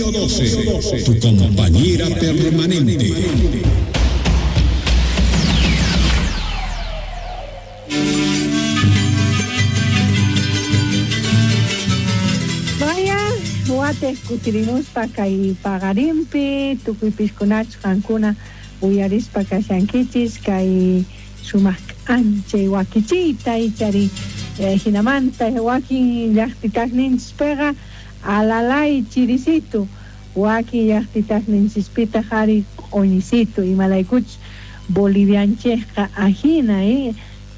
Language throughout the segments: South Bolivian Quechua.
Río 12, tu compañera permanente. Vaya, watej kutirimuspa kay paqarinpi tukuy piskunachus qankuna uyarispa kashankichis kay sumaq k'anchay wakichiyta ichari jinamanta wakin llaqtitasninchispiqa alalay chirisitu, wakin llaqtitasninchispitaq ari q'uñisitu, imaraykuchus Bolivianchejqa ajina,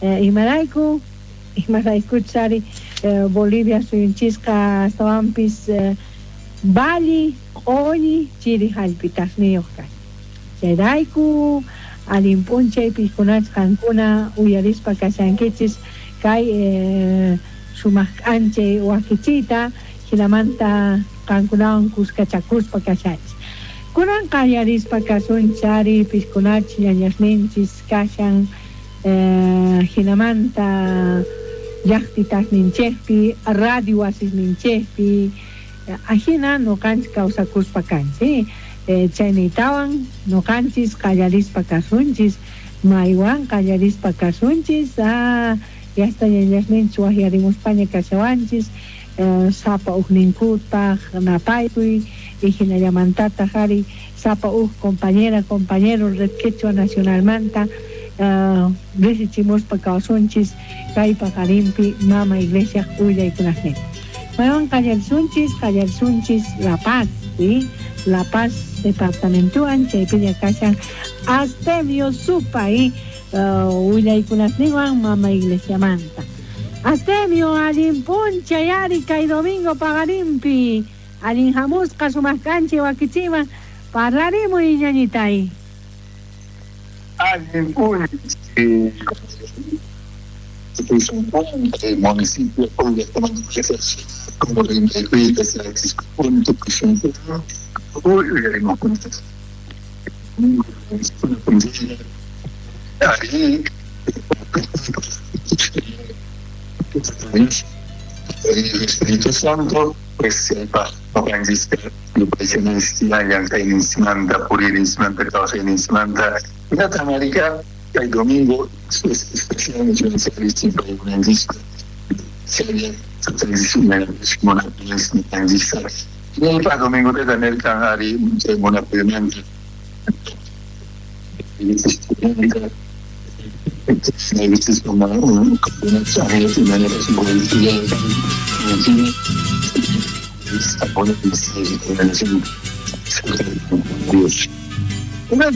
imarayku imaraykuchus ari Bolivia suyunchisqa astawanpis valle q'uñi chiri jallp'itasniyuq kashan. Chayrayku allin p'unchay piskunachus qankuna uyarispa kashankichis kay sumaq k'anchay wakichiyta jinamanta qankunawan kuskachakuspa kashanchis. Kunan qallarispa kasunchis ari piskunachus ñañasninchis kashan jinamanta llaqtitasninchejpi, radio wasisninchejpi, ajina noqanchis kawsakuspa kanchis. Chayniytawan noqanchis qallarispa kasunchis, maywan qallarispa kasunchis, yasta ñañasninchis wajyarimuspaña kashawanchis, sapa ujninkupaj napaykuy, y jinallamantataq ari sapa uj compañera, compañero Red Quechua Nacionalmanta risichimuspa kawsunchis kay paqarinpi Mama Iglesia willaykunasninta. Maywan qallarisunchis, qallarisunchis La Paz, ¿sí? La Paz departamentowan chaypiña kashan Astemio Supay willaykunasninwan Mama Iglesiamanta. Astemio, allin p'unchay ari kay domingo paqarinpi, allin hamusqa sumaq k'anchay wakichiman parlarimuy ñañitay. Allin p'unchay municipio como el Espíritu Santo, pues el domingo domingo de Una